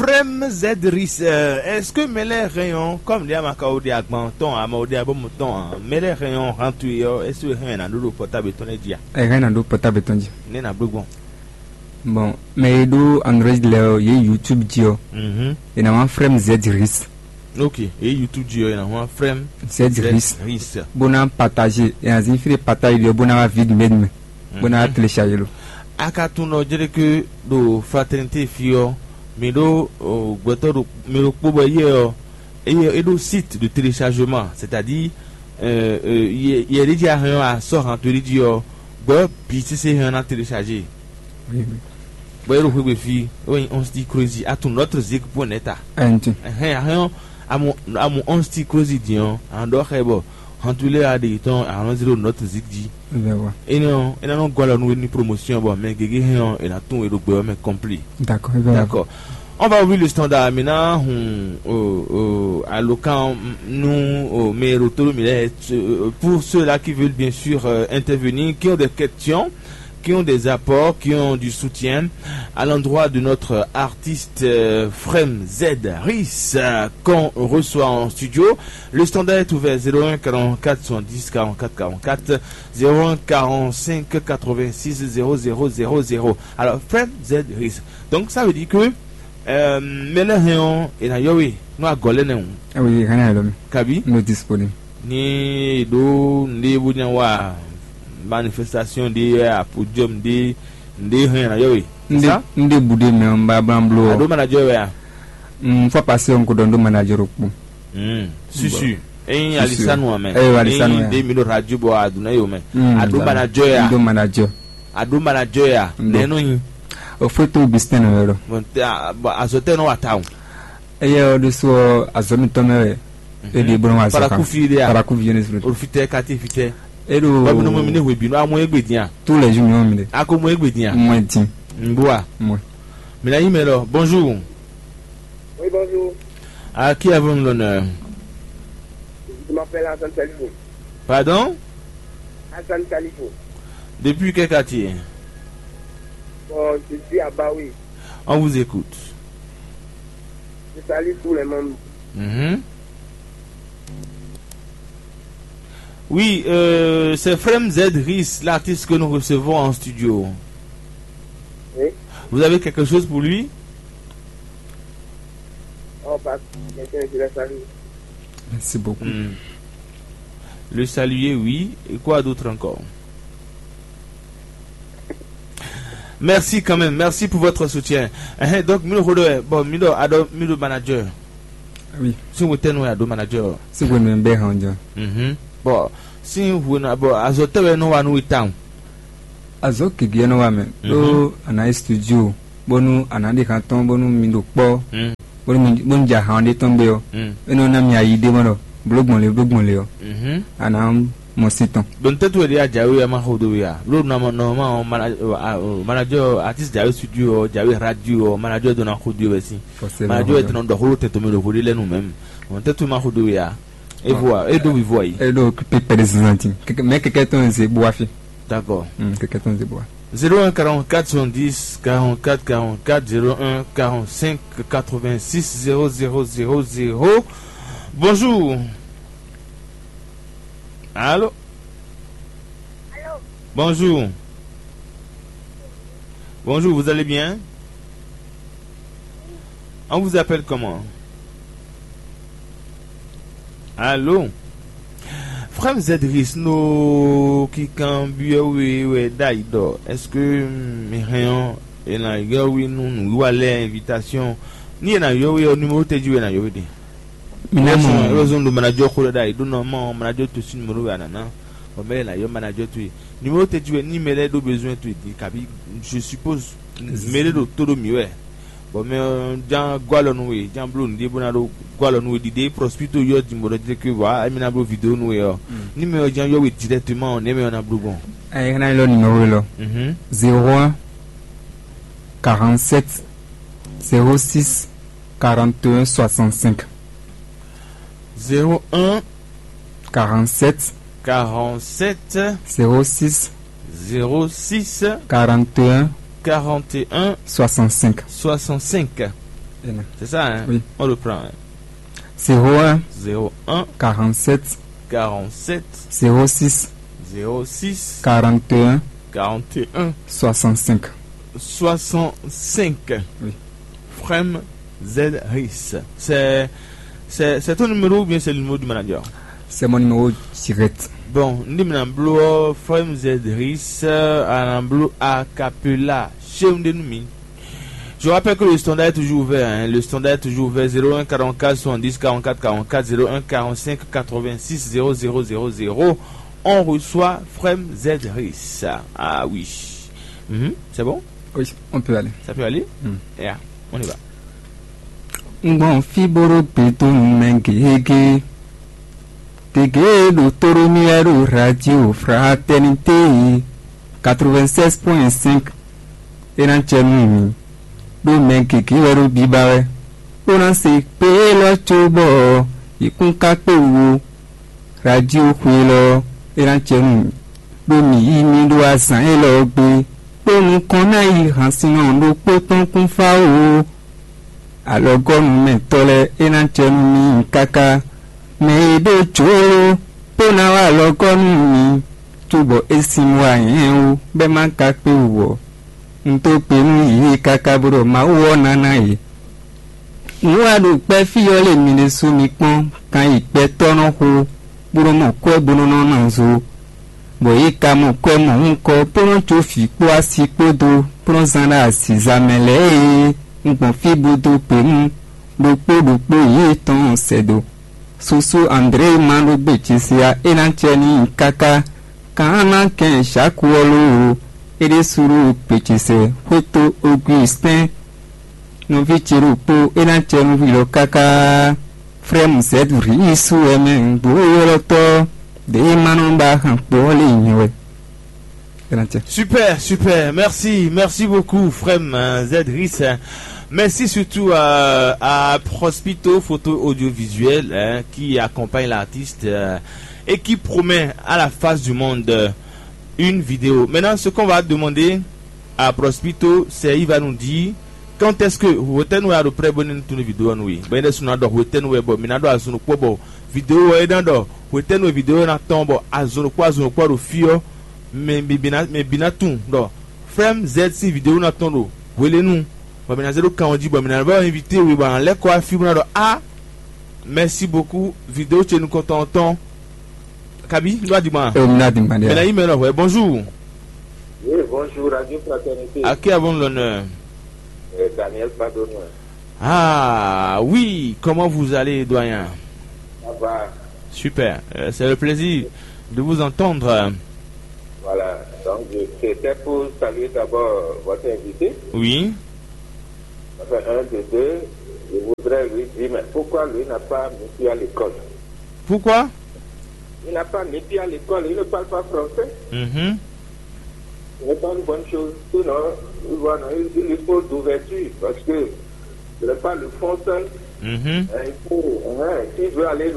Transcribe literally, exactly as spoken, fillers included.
Prem Zedris, euh, est-ce que mɛ lɛ́ɛ hɛn ɔ́, comme ɖě a ma ka wo ɖe agban tɔn ǎ, a ma wo ɖe abɔ́mu tɔn ǎ, mɛ lɛ́ɛ hɛn ɔ́, han towe ɔ́, est-ce que hɛn ɔ́ è nǎ ɖó ɖo portable tɔn lɛ́ɛ jí a? Ɛ hɛn ná ɖó portable tɔn jí. Nɛ́ ná bló gbɔn? Bon, mɛ e ɖó Android lɛ́ɛ ɔ́, yě YouTube jí ɔ́, Mhm. è nǎ wá Frem Zedris. Ok, yě YouTube jí ɔ́, è nǎ wá Frem Zedris. Zedris. Bó ná partager, è nǎ zin fí ɖé partage ɖé ɔ́, bó ná wá vide mɛ mɛ, bó ná wá télécharger lo. A ka tunwun ɖɔ jɛɖéke ɖo Fraternité fí ɔ́, mǐ ɖó o, gbɛtɔ́ ɖo mɛ ɖokpó bɔ éyɛ́ ɔ́, éyɛ́ é ɖó site de téléchargement, c'est-à-dire euh, euh, yɛ yɛ ɖé jí a hɛn ɔ́, a sɔ́ han towe ɖé jí ɔ́, gbɛ́ bǐ sésé hɛn ɔ́ ná télécharger. Oui, oui. Bɔ é ɖo xwé gbe fí, é wɛ nyí onze ti crazy at notre zik point net a. Ɛnti. Ɛhɛn, a hɛn ɔ́, a mɔ a mɔ onze ti crazy din ɔ́, a nɔ ɖɔ xɛ bɔ han towe lɛ́ɛ a ɖe yětɔn a nɔ zé ɖo notre zik jí. Bɛ wa. Énɛ́ ɔ́, é ná nɔ gɔ́ alɔ nú we ní promotion bɔ mɛ gěgé hɛn ɔ́, è nǎ tunwun we ɖo gbɛ ɔ́ mɛ kɔ́mplí. D'accord, bɛ wa. D'accord. On va ouvrir le standard maintenant. Hum, euh, euh, à l'occasion, nous, euh, mais retour, mais là, euh, pour ceux-là qui veulent bien sûr euh, intervenir, qui ont des questions, qui ont des apports, qui ont du soutien à l'endroit de notre artiste euh, Frem Z Ris euh, qu'on reçoit en studio. Le standard est ouvert zéro un quarante-quatre soixante-dix quarante-quatre quarante-quatre, zéro un quarante-cinq quatre-vingt-six zéro zéro zéro zéro. Alors, Frem Z Ris. Donc, ça veut dire que euh, mɛ lɛ́ɛ hɛn ɔ́, è nǎ yɔ we nú agɔ̌ lɛ́ɛ nɛ́ hǔn. Awi hɛn na yɛlɛ mi. Kabi? No disponible. Ni ɖó nɖé bó nya wa manifestation ɖé apodium ɖé nɖé hɛn na yɔ we. Nɖé nɖé bu ɖé mɛ ɔn ba blan blo. Aɖó manager wɛ a? Mm, fɔ pasé ɔn ko ɖɔ nɖó manager ɖokpó. Mm. Susu. Eyin alisanu amɛ. Eyin alisanu ya. Ɖe mi ɖo radio bɔ aduna yo mɛ. Mm, aɖó manager ya. Nɖó manager. Aɖó manager ya. Nɖó. Nɛnu nyi. O foto bisitɛn nɔ yɔrɔ. Bon, azɔtɛ nɔ wa ta o. Eye ɔ ɖo so azɔ mitɔn mɛ wɛ. Eɖi bolo wa zɔ kan. Paraku fi ɖe a? Paraku fi ne sulu. Olufitɛ kati fitɛ. Eɖo. Bɔbi nɔ mɔ mi ne hwe bi nɔ amɔ egbe diya. Tous les jours mi wɔn mi ɖe. Ako mɔ egbe diya. Mɔ din. Nbua. Mɔ. Mi na yi mɛ lɔ. Bonjour. Oui, bonjour. À qui avons-nous l'honneur? Je m'appelle Hassan Salifou. Pardon? Hassan Salifou. Depuis quel quartier? Bon, je suis à Baoui. On vous écoute. Je salue tous les membres. Mhm. Oui, euh, c'est Frem Z Ris, l'artiste que nous recevons en studio. Oui. Vous avez quelque chose pour lui? Oh, pas quelqu'un qui l'a salué. Merci beaucoup. Hmm. Le saluer, oui. Et quoi d'autre encore? Merci quand même, merci pour votre soutien. Ɛhɛn, donc mi ɖo xo ɖɔ wɛ, bon, mi ɖɔ aɖɔ mi ɖo manager. Oui. Sin hwetɛ́nu wɛ a ɖó manager? Sin hwenu bɛ hɔn jɔ. Mhm. Bon, sin hwenu, bon, azɔ tɛ wɛ nɔ wa nú we tawun? Azɔ gěgé nɔ wa mɛ. Mhm. Ɖó a nǎ yi studio, bónú a nǎ ɖi han tɔn, bónú mi ɖo kpɔ́. Mm. Bónú mi bónú ja han ɖé tɔn gbé ɔ́. Mm. É nɔ ná mi ayi ɖé mɔ ɖɔ bló gbɔn lé bló gbɔn lé ɔ́. Mhm. A nǎ mɔ sin tɔn. Bon, tɛ́tu wɛ ɖe a jǎwe wɛ a ma xo dó we a? Bló nɔ nɔ ma ɔ mana ɔ, a, ɔ, manager artiste jǎwe studio ɔ, jǎwe radio ɔ, manager dó na xo dó wɛ sín. Forcément. Manager wɛ tɛnɔ ɖɔ xó tɛn tɔmɛ ɖo xó ɖé lɛ́nu mɛm. Bon, tɛ́tu ma xo dó we a? E vo a? E ɖó mi vo ayi. E ɖó pépé de zinzantin. Mɛ kɛkɛ tɔn ze bo afi. D'accord. Mm, kɛkɛ tɔn ze bo a. Zéro un quarante-quatre soixante-dix quarante-quatre quarante-quatre, zéro un quarante-cinq quatre-vingt-six zéro zéro zéro zéro. Bonjour. Allô? Allô? Bonjour. Bonjour, vous allez bien? On vous appelle comment? Allô? Frère Zedris no kikan biɔ we wɛ dai dɔ, est-ce que mi hɛn ɔ e na yɔ we nu nu wa lɛ invitation? Ni e na yɔ we ɔ, numéro tɛ ji wɛ na yɔ we de? Mi ná mɔ. Heureusement ɖo manager xó ɖɔ ɖ'ayǐ ɖó nɔ mɔ manager to sín numéro wɛ a nǎ ná. Bɔ mɛ lɛ́ɛ ná yɔ manager towe. Numéro tɛ ji wɛ ní mɛ lɛ́ɛ ɖó besoin towe din kabi, je suppose mɛ ɖé ɖo tó ɖó mǐ wɛ. Bɔ mɛ ɔ́ ján gɔ́ alɔ nú we, ján bló nǔɖé bó ná ɖó gɔ́ alɔ nú we ɖiɖe prospito yɔ din bɔ ɖɔ jɛ ke vɔ émi ná bló vidéo nú we ɔ́. Ní mɛ ɔ́ ján yɔ we directement ɔ́, nɛ̌ mɛ ɔ́ ná bló gbɔn? Ɛ ná lɔ numéro lɔ. Mhm. Zéro un quarante-sept zéro six quarante et un soixante-cinq. Zéro un quarante-sept quarante-sept zéro six zéro six quarante et un quarante et un soixante-cinq. Soixante-cinq. C'est ça, hein? Oui. On reprend, hein. Zéro un, zéro un, quarante-sept, quarante-sept, zéro six, zéro six, quarante et un, quarante et un, soixante-cinq. Soixante-cinq. Oui. Frem Z Ris. C'est, c'est, c'est ton numéro ou bien c'est le numéro du manager? C'est mon numéro direct. Bon, n ɖi mǐ ná bló ɔ́, Frem Z Ris, a nǎ bló a capella. Chéwúndénúmi. Je rappelle que le standard est toujours ouvert, hein. Le standard est toujours ouvert, zéro un quarante-quatre soixante-dix quarante-quatre quarante-quatre, zéro un quarante-cinq quatre-vingt-six zéro zéro zéro zéro. On reçoit Frem Z Ris. Ah oui. Mhm, c'est bon? Oui, on peut aller. Ça peut aller? Hmm. Yeah, on y va. Un gbɔn fí bó ɖó gbe dó nú mɛ gěgé. Gěgé e ɖo tó ɖó mì wɛ ɖo Radio Fraternité quatre-vingt-seize point cinq. É ná jɛ nú mì, ɖó mɛ gěgé wɛ ɖo biba wɛ, bó ná se kpé élɔ́ cóbɔ yě kún ka kpé wú ó. Radio xwe élɔ́ ɔ́, é ná jɛ nú mì, ɖó mǐ yí mì ɖó azǎn élɔ́ ɔ́ gbe, kpó nukɔn ná yi hansinnɔ ɖokpó tɔn kún fá ó. Alɔgɔ́numɛtɔ́ lɛ́ɛ, é ná jɛ nú mì káká. Mɛ e ɖó jǒ bó ná wá alɔgɔ́ nú mì, cóbɔ é sin wá nyɛ wú, bɔ é ma ka kpé wú ɔ́, un dó gbe nú yě káká bó ɖɔ Mawu ɔ́ ná ná yě. Nǔ wa ɖo gbɛ́ fí ɔ́ lě mi ɖésú mi kpɔ́n, kan yi gbɛtɔ́ nɔ xo, bó nɔ mɔ kwɛ́ bó nɔ nɔ ná zo, bɔ yě ka mɔ kwɛ́ mɔ̌hunkɔ bó nɔ jó vǐ kpó asi kpódó bó nɔ zán ɖó azǐza mɛ lɛ́ɛ e un gbɔn fí bó dó gbe nú ɖokpó ɖokpó yětɔn sɛ́ dó. Susu André ma ɖó gbe ce se ǎ, é ná acɛ n'i káká. Kan ná kɛn Jǎku ɔ́ lóo, é ɖésú ɖo gbe ce sɛ xwéto Ogusitɛ́n nɔví ce ɖokpó, é ná acɛ nú hwi lɔ káká. Frɛ́mu Zɛ̌duri yí sú wɛ mɛ nǔgbó élɔ́ tɔ́ ɖě é ma nɔ ba han kpo ɔ́ lě nyɛ wɛ. É ná acɛ. Super, super. Merci, merci beaucoup, Frem, euh, Zedris. Merci surtout à, à Prospito Photo Audiovisuel, hein, qui accompagne l'artiste, euh, et qui promet à la face du monde, euh, une vidéo. Maintenant, ce qu'on va demander à Prospito, c'est il va nous dire quand est-ce que hwetɛ́nu a ɖo prêt bɔ ní tun vidéo ɔ́ nú we. Bɔ é ɖésú ná ɖɔ hwetɛ́nu wɛ bɔ mǐ ná ɖɔ azɔn ɖokpó bɔ vidéo ɔ́ é ná ɖɔ hwetɛ́nu e vidéo ɔ́ ná tɔn bɔ azɔn ɖokpó azɔn ɖokpó ɖo fí ɔ́, mɛ bǐ ná mɛ bǐ ná tunwun ɖɔ Frɛ́m Zɛ́d sín vidéo ná tɔn ɖo hwelénu, bɔ mǐ ná zé ɖó kan ɔ́ jí, bɔ mǐ ná vɛ́ invité we bɔ a nǎ lɛ́ kɔ wá fí bó ná ɖɔ á, merci beaucoup, vidéo ce nukɔntɔn ɔ́ tɔn. Kabi, ɖó adigban. Eo, mi ná adigban ɖe. Mɛ ná yí mɛ lɔ hwɛ, bonjour. Oui, bonjour, Radio Fraternité. À qui avons l'honneur? Euh, Daniel Padonoué. Ah oui, comment vous allez, doyen? Ça va. Super, euh, c'est le plaisir de vous entendre. Voilà, donc je- c'était pour saluer d'abord votre invité. Oui. Enfin, un de deux, je voudrais lui dire, mais pourquoi lui n'a pas mis pied à l'école? Pourquoi? Il n'a pas mis pied à l'école, il ne parle pas français. Mhm. Ce n'est pas une bonne chose. Sinon, il, voilà, il, il lui faut d'ouverture parce que ce n'est pas le fond seul. Mhm. Hein, il faut, hein, s'il veut aller